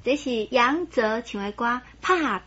這是楊哲唱的歌《拍拚》。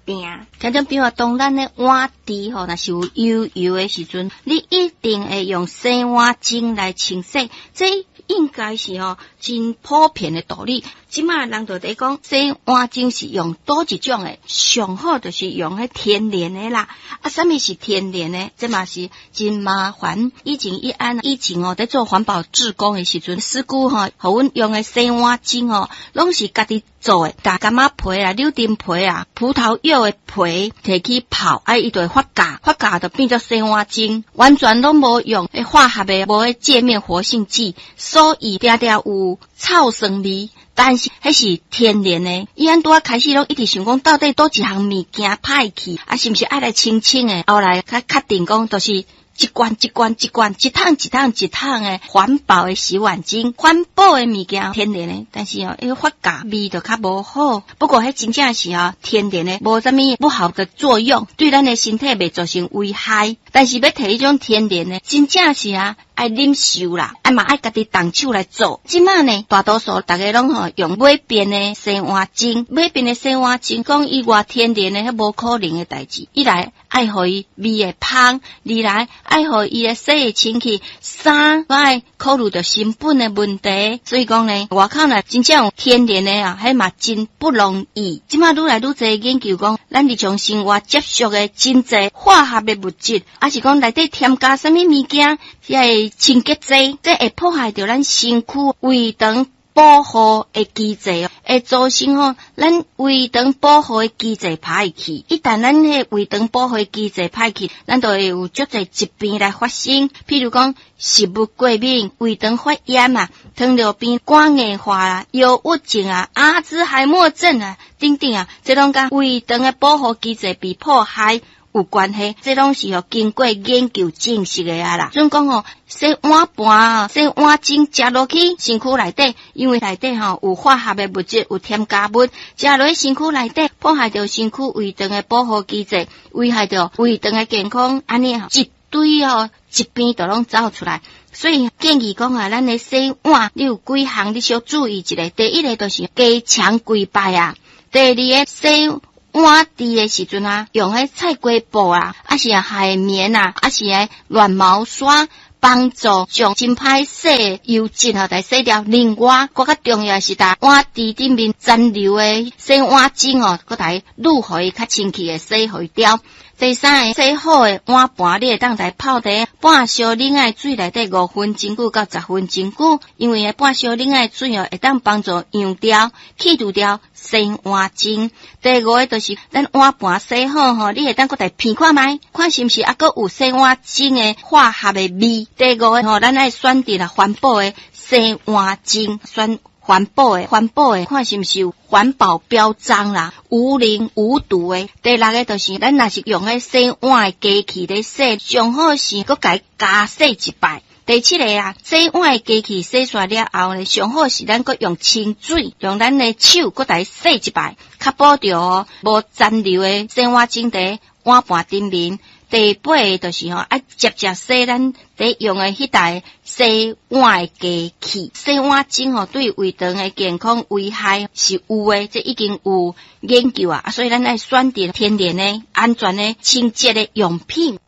聽眾朋友，當咱的碗池吼，若是有油油的時陣，你一定會用洗碗精來清洗，這應該是吼真普遍的道理。這馬人就佇講洗碗精是用佗一種的，上好就是用彼天然的啦。啊，啥物是天然的？這嘛是真麻煩。以前伊按以前哦，佇做環保志工的時陣，師姑吼，予阮用的洗碗精吼，攏是家己做的，共柑仔皮啊、柳丁皮啊、葡萄柚的皮提去泡，啊，伊就會發酵，發酵就變做洗碗精，完全攏無用彼化學的，無彼界面活性劑，所以定定有臭酸味。但是彼是天然的，伊按拄仔開始攏一直想講，到底佗一項物件歹去，啊，是毋是愛來清清的？後來較確定講，就是一罐一罐一罐，一桶一桶一桶的環保的洗碗精，環保的物件，天然的，但是哦，彼發酵味就較無好。不過彼真正是哦，天然的，無啥物不好的作用，對咱的身體袂造成危害。但是欲提彼種天然的，真正是啊，愛忍受啦，啊嘛愛家己動手來做。這馬呢，大多數逐家攏吼用買便的洗碗精，買便的洗碗精，講伊偌天然的，彼無可能的代誌。一來愛予伊味會芳，二來愛予伊的洗會清氣，三愛考慮著成本的問題。所以講呢，外口呢真正有天然的啊，彼嘛真不容易。這馬愈來愈濟研究講，咱日常生活接觸的真濟化學的物質，抑是講內底添加啥物物件，遐個清潔劑，這會破壞著咱身軀胃腸保護的機制，會造成吼咱胃腸保護的機制歹去。一旦咱彼胃腸保護的機制歹去，咱就會有足濟疾病來發生，譬如講食物過敏、胃腸發炎啊、糖尿病、肝硬化啊、憂鬱症啊、阿茲海默症啊等等啊，這攏佮胃腸的保護機制被破壞有關係，這攏是吼經過研究證實的啊啦。準講吼，洗碗盤啊，洗碗精食落去身軀內底，因為內底吼有化學的物質，有添加物，食落去身軀內底，破壞著身軀胃腸的保護機制，危害著胃腸的健康，按呢一堆吼疾病就攏走出來。所以建議講啊，咱的洗碗，你有幾項你小注意一下。第一个就是加強幾擺啊，第二个洗碗池的時陣啊，用彼菜瓜布啊，抑是海綿啊，抑是彼軟毛刷，幫助將真歹洗的油脂吼，來洗掉。另外，閣較重要是，佇碗池頂面殘留的洗碗精哦，閣來滷予伊較清氣的洗予伊掉。第三个，洗好的碗盤，你會當來泡佇半燒冷的水內底5分鐘久到10分鐘久，因為半燒冷的水哦，會當幫助溶掉、去除掉洗碗精。第五个就是咱碗盤洗好吼，你會當閣來聞看覓，看是毋是猶閣有洗碗精的化學的味。第五个吼，咱愛選擇啦環保的洗碗精，選環保的，環保的，看是毋是有環保標章啦，無磷無毒的。第六个就是，咱若是用彼洗碗的機器咧洗，上好是閣共伊加洗一擺。第七个啊，洗碗的機器洗煞了後呢，上好是咱閣用清水，用咱的手閣來洗一擺，確保著無殘留的洗碗精佇碗盤頂面。第八个就是吼，愛捷捷洗咱佇用的彼台洗碗的機器。洗碗精吼，對胃腸的健康危害是有的，這已經有研究啊，所以咱愛選擇天然的、安全的、清潔的用品。